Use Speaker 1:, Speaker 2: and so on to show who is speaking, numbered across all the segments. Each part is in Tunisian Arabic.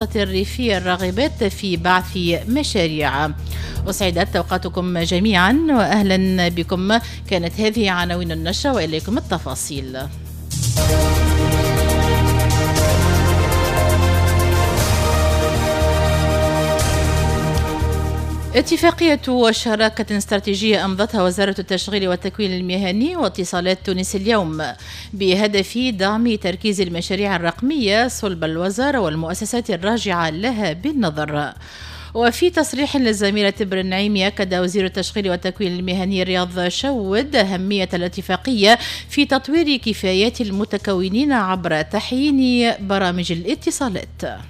Speaker 1: الريفية الراغبات في بعث مشاريع. أسعدت أوقاتكم جميعا وأهلا بكم. كانت هذه عناوين النشرة وإليكم التفاصيل. اتفاقية شراكة استراتيجية أمضتها وزارة التشغيل والتكوين المهني واتصالات تونس اليوم بهدف دعم تركيز المشاريع الرقمية صلب الوزارة والمؤسسات الراجعة لها بالنظر. وفي تصريح للزميلة تبر النعيمي، أكد وزير التشغيل والتكوين المهني رياض شود أهمية الاتفاقية في تطوير كفايات المتكونين عبر تحيين برامج الاتصالات.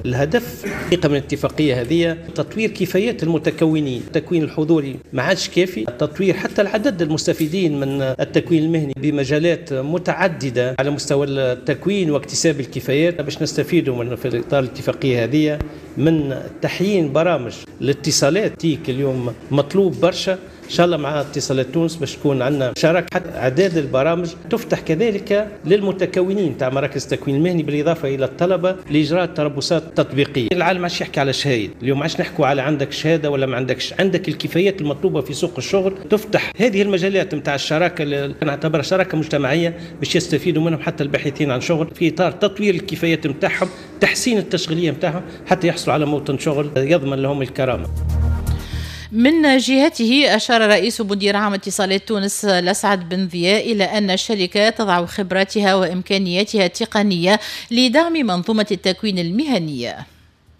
Speaker 2: الهدف حقيقة من الاتفاقية هذه تطوير كفايات المتكونين، التكوين الحضوري ما عادش كافي، تطوير حتى العدد المستفيدين من التكوين المهني بمجالات متعددة على مستوى التكوين واكتساب الكفايات باش نستفيدوا من في إطار الاتفاقية هذه من تحيين برامج الاتصالات. تيك اليوم مطلوب برشا ان شاء الله مع اتصالات تونس باش تكون عندنا شراكة، حتى اعداد البرامج تفتح كذلك للمتكونين تاع مراكز التكوين المهني بالاضافة الى الطلبة لاجراء التربصات التطبيقية. العالم ما عادش يحكي على شهايد، اليوم ما عادش نحكوا على عندك شهادة ولا ما عندكش، عندك الكفايات المطلوبة في سوق الشغل. تفتح هذه المجالات نتاع الشراكة اللي نعتبرها شراكة مجتمعية باش يستفيدوا منهم حتى الباحثين عن شغل في اطار تطوير الكفايات نتاعهم، تحسين التشغيلية نتاعهم حتى يحصلوا على موطن شغل يضمن لهم الكرامة.
Speaker 1: من جهته أشار رئيس مدير عام اتصالات تونس لسعد بن ضياء إلى أن الشركة تضع خبراتها وإمكانياتها التقنية لدعم منظومة التكوين المهني.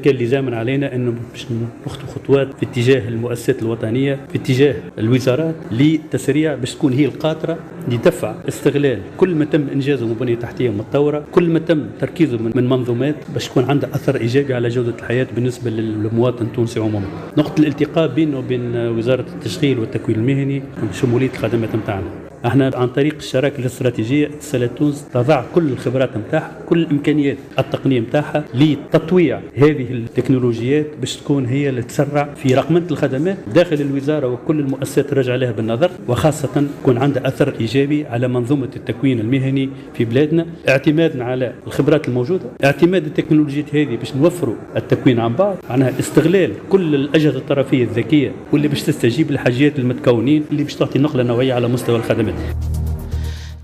Speaker 3: كان لزاما علينا انه باش نخطو خطوات في اتجاه المؤسسات الوطنية، في اتجاه الوزارات لتسريع باش تكون هي القاطره لدفع استغلال كل ما تم انجازه من بنيه تحتيه متطورة، كل ما تم تركيزه من منظومات باش يكون عندها اثر ايجابي على جوده الحياة بالنسبة للمواطن التونسي عموما. نقطة الالتقاء بينه وبين وزارة التشغيل والتكوين المهني شمولية الخدمات نتاعنا. احنا عن طريق الشراكة الاستراتيجية اتصالات تونس تضع كل الخبرات نتاعها، كل الامكانيات التقنية نتاعها لتطويع هذه التكنولوجيات باش تكون هي اللي تسرع في رقمنه الخدمات داخل الوزارة وكل المؤسسات الراجعة لها بالنظر، وخاصة يكون عندها اثر ايجابي على منظومة التكوين المهني في بلادنا، اعتمادنا على الخبرات الموجودة، اعتماد التكنولوجيات هذه باش نوفروا التكوين عن بعد، معناها استغلال كل الاجهزة الطرفيه الذكية واللي باش تستجيب لحاجيات المتكونين اللي باش تعطي نقله نوعية على مستوى الخدمات.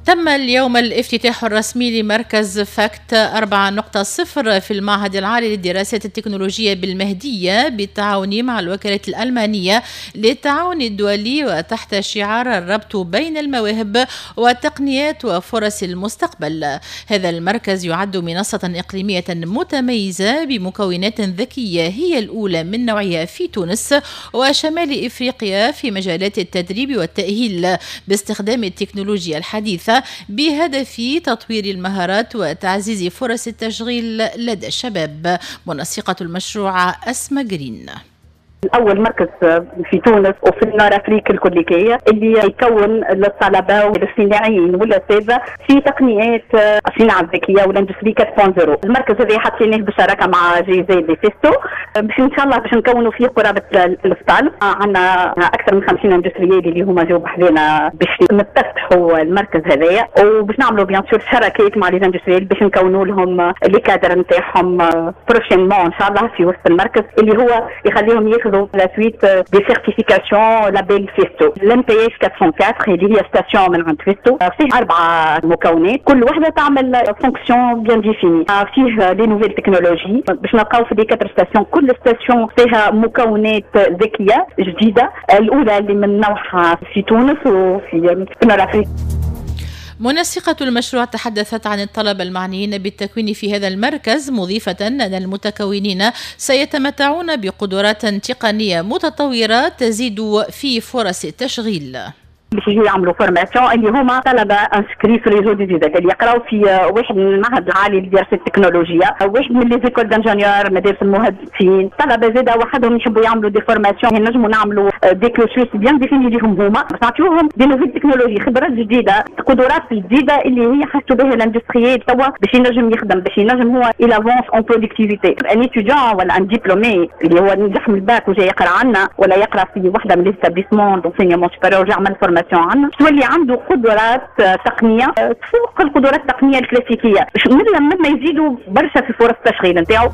Speaker 1: تم اليوم الافتتاح الرسمي لمركز فاكت 4.0 في المعهد العالي للدراسات التكنولوجية بالمهدية بالتعاون مع الوكالة الألمانية للتعاون الدولي وتحت شعار الربط بين المواهب والتقنيات وفرص المستقبل. هذا المركز يعد منصة إقليمية متميزة بمكونات ذكية هي الأولى من نوعها في تونس وشمال إفريقيا في مجالات التدريب والتأهيل باستخدام التكنولوجيا الحديثة بهدف تطوير المهارات وتعزيز فرص التشغيل لدى الشباب. منسقة المشروع أسماء جرين.
Speaker 4: أول مركز في تونس وفي ال Nord Afrique الكليكية اللي يكون للطلبة والصناعيين والأساتذة في تقنيات الصناعة الذكية وال industrie 4.0. المركز هذا حطيناه بالشراكة مع GIZ Festo باش إن شاء الله باش نكونوا فيه قرابة 1000 طالب. عندنا أكثر من 50 industriels اللي هما جاوا بحذانا باش نفتحوا المركز هذايا، وباش نعملوا bien sûr شراكات مع les industriels باش نكونوا لهم les cadres نتاعهم prochainement إن شاء الله في وسط المركز اللي هو يخليهم ياخذوا la suite des certifications label Festo. L'MPS 404 اللي هي station من عند Festo فيه 4 مكونات كل وحده تعمل fonction bien définie، فيه les nouvelles technologies باش نلقاو في les 4 stations كل station فيها مكونات ذكية جديدة، الاولى اللي من نوعها في تونس وفي l'Afrique.
Speaker 1: منسقة المشروع تحدثت عن الطلبة المعنيين بالتكوين في هذا المركز، مضيفة أن المتكونين سيتمتعون بقدرات تقنية متطورة تزيد في فرص التشغيل.
Speaker 4: باش يجيو يعملوا formation اللي هما طلبه inscrits في réseau des ISET اللي يقراو في واحد من المعهد العالي لدراسة التكنولوجيا، واحد من les écoles d'ingénieurs مدارس المهندسين، طلبه زاده وحدهم يحبوا يعملوا des formations، نجموا نعملوا des cursus bien définis ليهم هما باش نعطيوهم des nouvelles technologies، خبرات جديدة، قدرات جديدة اللي هي حاسوا بها ال industriel توا باش ينجم يخدم، باش ينجم هو il avance en productivité. un étudiant ولا un diplômé اللي هو نجح من الباك وجاي يقرا عنا ولا يقرا في وحده من les établissements d'enseignement supérieur وجا عمل formation formation عندنا، تولي عنده قدرات تقنية تفوق القدرات التقنية الكلاسيكيه، مما يزيدوا برشا في فرص التشغيل نتاعو.